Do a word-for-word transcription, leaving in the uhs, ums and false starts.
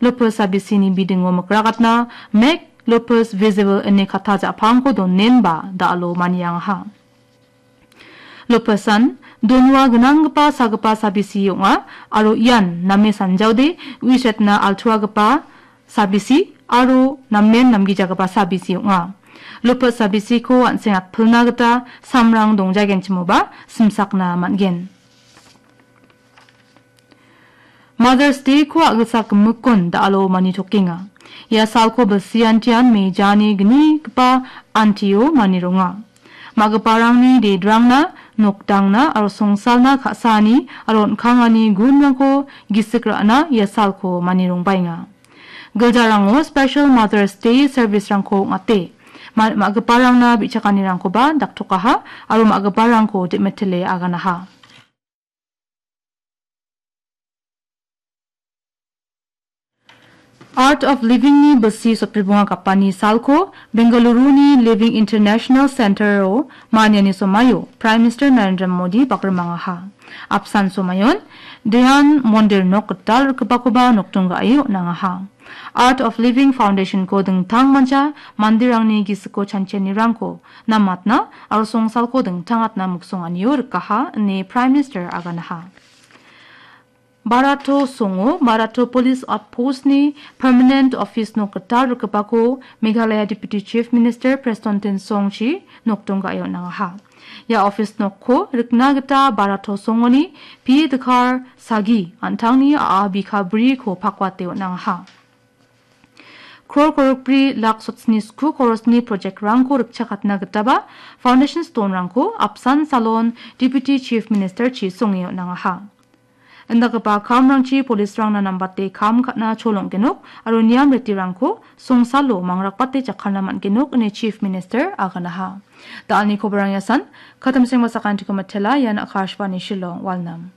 Lopez Sabisini bidingo mikrakatna Make Lopez Visible ine katta ja·pangko donenba da·alo maniangaha. Lopesan donua gnanggipa sagipa sabisi ong·a aro ian name sanjaode uisetna altuagipa sabisi aro namen namgijagipa sabisi ong·a. Lopez sabisiko an·seng atpilna gita samrang dongjagenchimoba simsakna man·gen. Mother's Day-ko a·gilsak gimikkon da·alo manitokenga. Ia salko bilsiantian mejani gnigipa antio manironga. Ma·giparangni dedrangna, nokdangna aro songsalna ka·saani aro on·kangani gunrangko gisik ra·na ia salko manirongbaenga. Giljarango Special Mother's Day service-rangko ong·ate, ma-, ma·giparangna bi·chakanirangkoba daktokaha aro ma·giparangko de·metile aganaha. Art of Living-ni bilsi sotbri bonga gapani salko Bengaluru-ni Living International Center-o maniani somaio Prime Minister Narendra Modi bakrimangaha. Apsan somayon Dhyan Mondir nok gital rikgipakoba nokdong ga·e on·angaha. Art of Living Foundation-ko dingtang mancha manderangni gisiko chanchianirangko namatna aro songsalko dingtangatna miksonganio rikaha ine Prime Minister aganaha. Barato songo, Barato Police Outpost-ni permanent office nok gital rikgipako Meghalaya Deputy Chief Minister Prestone Tynsong-chi nokdong ga·e on·angaha. Ia office nokko rikna gita Barato songoni P. Dkhar Sagi an·tangni a·a bika briko pakwate on·angaha. Kror korokbri lak sotsni sku korosni project-rangko rikchakatna gitaba foundation stone-rangko apsan salon Deputy Chief Minister-chi songe on·angaha. Indakgipa kamrangchi police-rangna nambate kam ka·na cholonggenok aro niam ritirangko songsalo mangrakbate jakkalna man·genok ine Chief Minister aganaha. Da·alni kobarang iasan, katamseng basakantiko matela, ian Akashvani Shillong, Walnam.